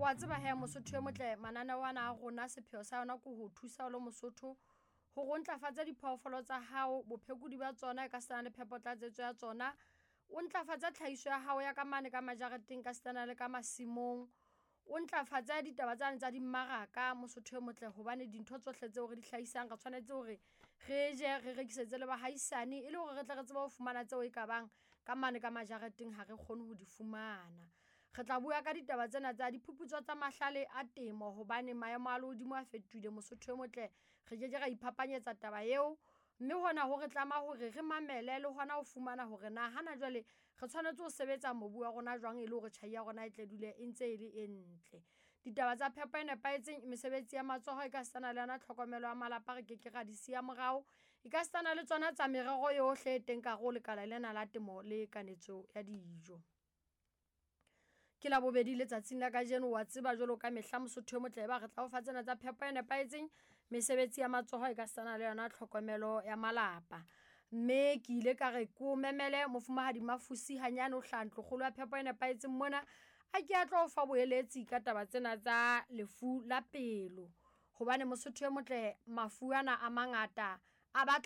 Wa tseba he Mosotho e motle, mananeo ana a rona sepheo sa yona ke ho thusa o le Mosotho hore o ntlafatse diphoofolo tsa hao, bophekodi ba tsona e ka sitana le phepo tlatsetso ya tsona. O ntlafatse tlhahiso ya hao ya ka mane ka majareteng ka sitana le ka masimong. O ntlafatse ditaba tsane tsa dimmaraka Mosotho e motle hobane dintho tsohle tseo re di hlahisang re tshwanetse hore re je, re rekisetse le bahaisane e le hore re tle re tsebe ho fumana tseo e ka bang ka mane ka majareteng ha re kgone ho di fumana. Re tla bua ka ditaba tsena tsa diphuputso tsa mahlale a temo hobane maemo a lehodimo a fetohile Mosotho e motle, re keke ra iphapanyetsa taba eo. Mme hona ho re tlama hore re mamele le hona ho fumana hore na hana jwale re tshwanetse ho sebetsa mobu wa rona jwang e le hore tjhai ya rona e tle dule e ntse e le e ntle. Ditaba tsa phepo e nepahetseng, mesebetsi ya matsoho e ka sitana le yona tlhokomelo ya malapa re keke ra di siya morao. E ka sitana le tsona tsa merero yohle e teng ka hare ho lekala lena la temo le kanetso ya dijo. Ke Labobedi letsatsing la kajeno, wa tseba jwalo ka mehla Mosotho e motle ba re tla o fa tsena tsa phepo e nepahetseng, mesebetsi ya matsoho e ka sitana le yona tlhokomelo ya malapa. Mme ke ile ka re ke o memele mofumahadi Mafusi hanyane o hlaha ntlokgolo ya phepo e nepahetseng mona, a ke a tlo o fa boeletsi ka taba tsena tsa lefu la pelo. Hobane Mosotho e motle mafu ana a mangata a batla